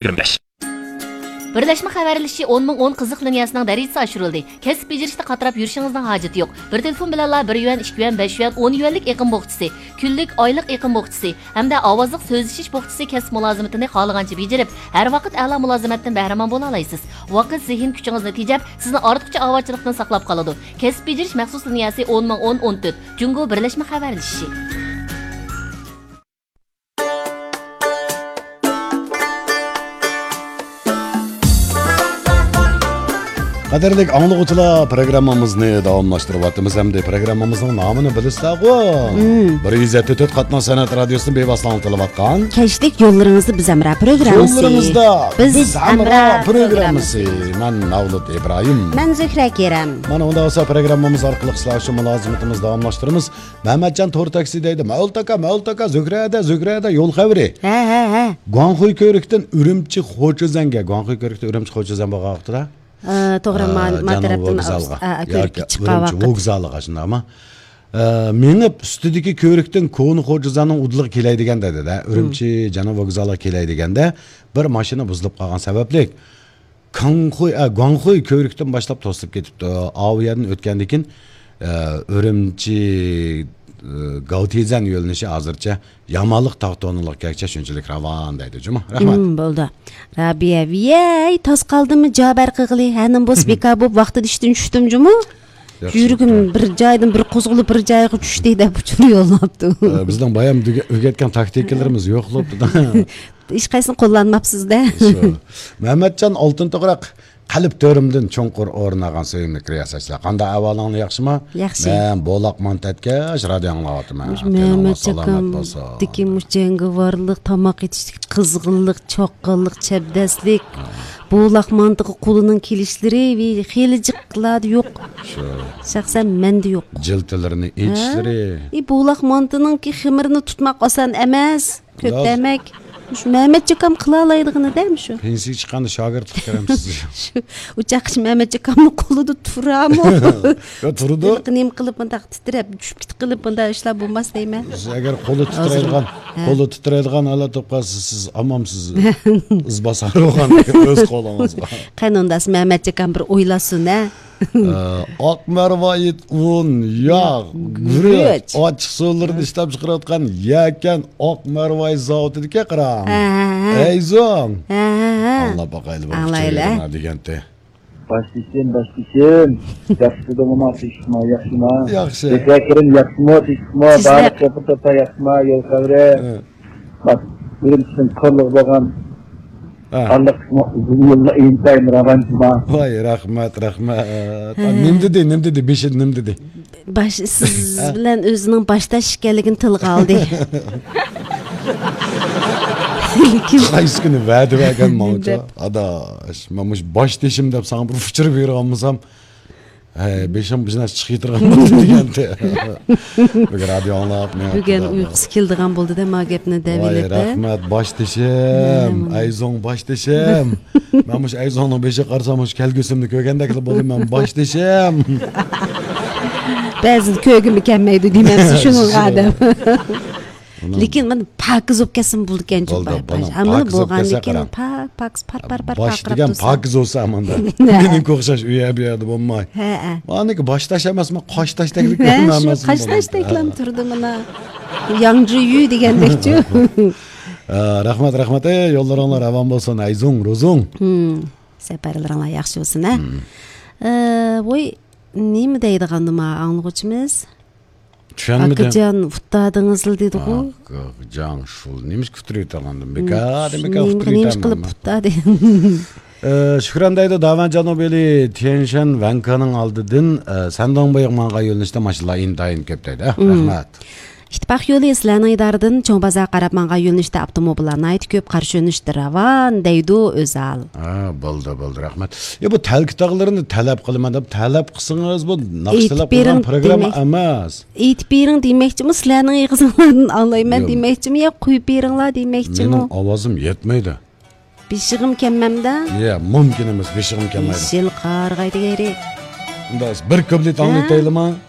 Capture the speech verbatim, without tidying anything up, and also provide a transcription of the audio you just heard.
يىگىرمە بەش. بىرلەشمە خەۋەرلىشىشى ئون مىڭ ئون قىزىق لىنىيەسىنىڭ دەرىجىسى ئاشۇرۇلدى. كەسىپ بېجىرىشتە قاتراپ يۈرۈشىڭىزنىڭ ھاجىتى يوق. بىر تېلېفون بىلەنلا بىر يۈەن، ئىككى يۈەن، بەش يۈەن، ئون يۈەنلىك ئېقىم بوخچىسى، كۈنلۈك، ئايلىق ئېقىم بوخچىسى ھەمدە ئاۋازلىق سۆزلىشىش بوخچىسى كەسىپ مۇلازىمىتىنى خالىغانچە بېجىرىپ، ھەر ۋاقىت ئەلا مۇلازىمەتتىن بەھرىمەن بولالايسىز. ۋاقىت، زېھىن كۈچىڭىزنى تېجەپ، سىزنى ئارتۇقچە ئاۋارىچىلىقتىن ساقلاپ قالىدۇ. كەسىپ بېجىرىش مەخسۇس لىنىيەسى ئون مىڭ ئون ئون تۆت، جۇڭگو بىرلەشمە خەۋەرلىشىشى. قەدىرلىك ئاڭلىغۇچىلار، پروگراممىمىزنى داۋاملاشتۇرۇۋاتىمىز ھەمدە پروگراممىمىزنىڭ نامىنى بىلىسىلەرغۇ؟ مم. بىر يۈز يەتتە تۆت قاتناش سەنئەت رادىيوسىنى بىۋاسىتە ئاڭلىتىلىۋاتقان كەچلىك يوللىرىڭىزدا بىز ھەمراھ پروگراممىسى. يوللىرىڭىزدا بىز بىز ھەمراھ ھەمراھ پروگراممىسى. پروگراممىسى. مەن مەۋلۇت ئىبراھىم. مەن زۆھرە كېرەم. مانا ئۇنداق بولسا پروگراممىمىز ئارقىلىق سىلەر شۇ مۇلازىمىتىمىزنى داۋاملاشتۇرىمىز. مەمەتجان تور تاكسى دەيدۇ. مەۋلۇت ئاكا، مەۋلۇت ئاكا، زۆھرەدە، زۆھرەدە يول خەۋىرى. ھە، ھە، ھە. گۇاڭخۇي كۆۋرۈكتىن ئۈرۈمچى خوچۈزەنگە، گۇاڭخۇي كۆۋرۈكتىن ئۈرۈمچى خوچۈزەن بولغان ۋاقتىدا، ئە، توغرا، ئە، ما-، ما جەنۇب تەرەپتىن ۋوگزالغا. ئا، ئا، كۆۋرۈككە ياكى چىققان ئۈرۈمچى ۋاقىت. ۋوگزالىغا، شۇنداقمۇ؟ ئە، مېڭىپ ئۈستىدىكى كۆۋرۈكتىن كونا خوجىزاننىڭ ئۇدۇلىغا كېلەي دېگەندە، دەدە، ئۈرۈمچى جەنۇب ۋوگزالىغا كېلەي دېگەندە، بىر ماشىنا بۇزۇلۇپ قالغان سەۋەبلىك، كاڭخۇي، ئە، گۇاڭخۇي كۆۋرۈكتىن باشلاپ توسۇلۇپ كېتىپتۇ. ئاۋۇ يەردىن ئۆتكەندىن كېيىن، ئە، ئۈرۈمچى، ئە، گاۋتىزەن يۆنىلىشى ھازىرچە يامانلىق تاغ تونۇلۇق كەكچە شۇنچىلىك راۋان دەيدۇ جۇمۇ. رەھمەت. مم، بولدى. رابىيە، ۋىيەي، تاس قالدىممۇ جابەر قىغىلى؟ ھەنىم بولسا بىكار بولۇپ ۋاقتىدا ئىشتىن چۈشتۈم جۇمۇ. ياخشى. يۈرىكىم بىر جايدىن بىر قوزغىلىپ، بىر جايغا چۈشتى دەپ ئۇچۇر يوللاپتۇ. ئە، بىزنىڭ بايام دېگە-، ئۆگەتكەن تاكتىكىلىرىمىز يوق بولۇپتۇ. ھېچقايسىنى قوللانماپسىز-دە. شۇ. مەمەتجان ئالتۇن توغراق، قەلب تۆرۈمدىن چوڭقۇر ئورۇن ئالغان سۆيۈملۈك رىياسەتچىلەر. قانداق ئەھۋالىڭلار، ياخشىمۇ؟ ياخشى. مەن بولاق مانتا ئەتكەچ رادىيو ئاڭلاۋاتىمەن. مۇشۇ تېنىڭلار مەمەتجان سالامەت بولسۇن. ئاكامدىكى مۇشۇ جەڭگىۋارلىق، تاماق ئېتىشتىكى قىزغىنلىق، چاققانلىق، چەبدەسلىك، ھە. بولاق مانتىغا قولىنىڭ كېلىشلىرى ۋى خېلى جىقلاردا يوق. شۇ. شەخسەن مەندە يوق. جىلتىلىرىنى ھە؟ ئېچىشلىرى. ئى، بولاق مانتىنىڭكى خېمىرىنى تۇتماق ئاسان ئەمەس. كۆتەمەك. مۇشۇ مەمەتجان ئاكام قىلالايدىغىنىدە مۇشۇ. پېنسىيەگە چىققاندا شاگىرتلىق كۆرەمسىز. شۇ ئۇچاققىچە مەمەتجان ئاكامنىڭ قولىدا تۇرامۇ؟ يا، تۇرىدۇ. ھېلىقى نېمە قىلىپ مۇنداق تىترەپ، چۈشۈپ كېتىپ قىلىپ مۇنداق ئىشلار بولماس دەيمەن. سىز ئەگەر قولى ھازىر. تىترەيدىغان، ھە. قولى تىترەيدىغان ھالەت بولۇپ قالسا، سىز ئامامسىز، ئىز باسار بولغان ئۆز قولىڭىزغا. قېنى ئۇنداق مەمەتجان ئاكام بىر ئويلاشسۇن، ھە؟ ئاق مەرۋايىت ئۇن، ياغ، ياغ، گۈرۈچ، گۈرۈچ. ئاچچىق سۇلىرىنى ئىشلەپ چىقىرىۋاتقان يەكەن ئاق مەرۋايىت زاۋۇتىدىكى قاراڭ. ھە، ھە، ھە. ئەيزۇڭ. ھە، ھە، ھە. ئاڭلاپ باقايلى، بۇ ئاڭلايلى. چېگرىنى دېگەنتى. باش تېشىم، باش تېشىم. ياخشىمۇ، تېشىقمۇ، ياخشىمۇ؟ ياخشى. بەكرەم ياخشىمۇ، تېشىقمۇ؟ بارلىق توپا توپا ياخشىمۇ؟ يول خەۋىرى. ھە. بىرىنچىدىن كورلۇق بولغان ھە. ئارىلىق يوللار ئىنتايىن راۋانچىما. ۋاي، رەھمەت، رەھمەت. ھە. نېمە دېدى، نېمە دېدى، بېشىدا نېمە دېدى؟ باش، سىز ھە. بىلەن ئۆزىنىڭ باشداش ئىكەنلىكىنى تىلغا ئالدى. لېكىن قايسى كۈنى ۋەدە بەرگەن ماڭا؟ دەپ. ئاداش، مەن مۇشۇ باش تېشىم دەپ ساڭا بىر ئۇچۇر بېرىۋالمىسام، ھەي، بېشىم بىر نەرسە چىقىپ يېتىدىغان بولدى دېگەنتى. بۈگۈن رادىيو ئاڭلاپ، مېڭىپ بۈگۈن كېتىۋاتىمەن. ئۇيقۇسى كېلىدىغان بولدى-دە، ما گەپنى دەۋېلىپ، ۋاي، رەھمەت، باش تېشىم، ھە، ئەيزوڭ باش تېشىم. مەن مۇشۇ ئەيزوڭنىڭ بېشىغا قارىسام، مۇشۇ كەلگۈسىمنى كۆرگەندەكلا بولدۇم مەن، باش تېشىم. بەزىدە كۆرگۈممۇ كەلمەيدۇ دېمەمسىز شۇنىڭغا ئادەم. لېكىن مانا پاكىز بولۇپ كەتسىمۇ بولىدىكەن، بولدى، باش. بۇنىڭ ھەممىنى پاكىز بولۇپ بولغاندىن كەتسە كېيىن قاراڭ. پاك، پاكىز، پار، پار، پار باش پارقىراپ دېگەن تۇرسا. پاكىز بولسا ئاماندا. نە. مېنىڭكى ئوخشاش ئۇ يەر، بۇ يەردە بولماي. ھە، ھە. مانىكى باش تاش ئەمەسمۇ، قاش تاشتەكلىك ھە، شۇ ئەمەسمۇ قاش بۇنىڭ؟ تاشتەكلام ھە. تۇردى مانا. ياڭجىيۈ دېگەندەكچۇ. ئە، رەھمەت، رەھمەت. ئەي، يوللىرىڭلار راۋان بولسۇن، ئەيزوڭ، روزۇڭ. ھىم، سەپەرلىرىڭلار ياخشى بولسۇن، ھە. ھىم. ئە، ۋوي، نېمە دەيدىغاندىما ئاڭلىغۇچىمىز؟ چۈشەنمىدىم. ئاكىجان، ئۇتتادىڭىزلا دېدىغۇ. ئاكىجان، شۇ نېمىشقا ئۇتتۇرۇۋېتىۋالغاندىم؟ بىكار، بىكار نېمە، نېمە قىلىپ ئۇتتۇرۇۋېتەمدىم. ئۇتتادى؟ ئە، شۈكران دەيدۇ، داۋەن جانۇبىلى تيەنشەن ۋەنكېنىڭ ئالدىدىن، ئە، سەنداڭ بويىغا ماڭغان يۆنىلىشتە ماشىنىلار ئىنتايىن كۆپ دەيدۇ. ئە، مم. رەھمەت. ئىتتىپاق يولى سىلەرنىڭ ئىدارىدىن چوڭ بازارغا قاراپ ماڭغان يۆنىلىشتە ئاپتوموبىللار ناھايىتى كۆپ، قارشى يۆنىلىشتە راۋان دەيدۇ ئۆزال. ھە، بولدى، بولدى، رەھمەت. يا، بۇ تەلكە تاغلىرىنى تەلەپ قىلىمەن دەپ تەلەپ قىلسىڭىز، بۇ ناخشا ئېيتىپ تەلەپ قىلغان بېرىڭ پروگرامما دېمەك-، ئەمەس. ئېيتىپ بېرىڭ دېمەكچىمۇ، سىلەرنىڭ ئېغىزىڭلاردىن ئاڭلايمەن ياق. دېمەكچىمۇ يا قويۇپ بېرىڭلار دېمەكچىمۇ؟ مېنىڭ ئاۋازىم يەتمەيدۇ. بېشىغىم كەلمەمدۇ؟ يا، مۇمكىن ئەمەس، بېشىغىم كەلمەيدۇ. بېشىل قارىغاي دېگەيرى. ئۇنداق بىر كۇپلېت ھە؟ ئاڭلىتايلىما؟